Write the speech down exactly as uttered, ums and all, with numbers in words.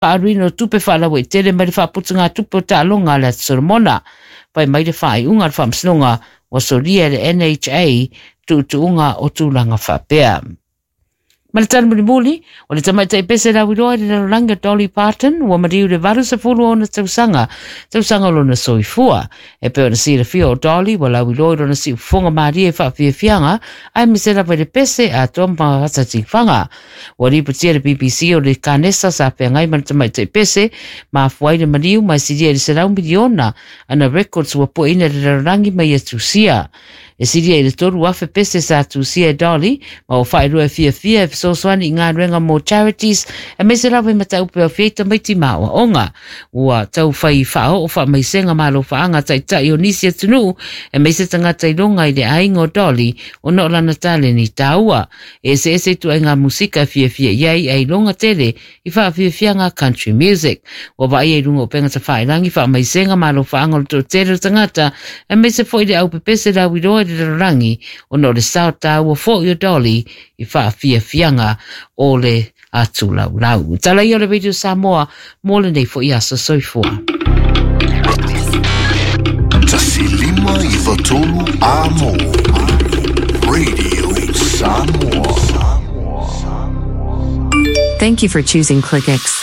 Faaluina o tupe faalauaitele mai le faaputugatupe o taaloga a le Atu Solomona. Fai mai le faaiuga a le Faamasinoga ua solia e le N H A tuutuuga o tulaga faapea. Ma le tala mulimuli, o le tamaitai pese lauiloa i le lalolagi o Dolly Parton ua maliu le valu sefulu ona tausaga, tausaga o lona soifua. E pei ona silafia o Dolly ua lauiloa i lona siufofoga malie e faafiafiaga aemaise lava i le pese atoa ma fatatifaga. Ua lipotia le B B C o le kanesa sa feagai ma le tamaitai pese mafua ai le maliu ma e silia i le selau miliona ana records ua pueina i le lalolagi mai ia tusia. E silia i le tolu afe pese sa tusia e Dolly ma ua faailoa e fiafia e fesoasoani i galuega mo charities aemaise lava i mataupu e aofia ai tamaiti ma aoaoga. Ua taufai faaoo faamaisega ma alofaaga taitai o nisi atunuu aemaise tagata iloga i le aiga o Dolly ona o lana taleni taua. E eseese ituaiga musika e fiafia i ai ae iloga tele i faafiafiaga country music. Ua vaaia i luga o upega tafailagi faamaisega ma alofaaga o le toatele o tagata aemaise foi le aupepese lauiloa i le lalolagi ona o le sao taua foi o Dolly i faafiafiaga o le atulaulau. Tala ia o le Radio Samoa mo lenei foi aso soifua. Tasi lima iwa tolu a mo. Radio Samoa. Thank you for choosing ClickX.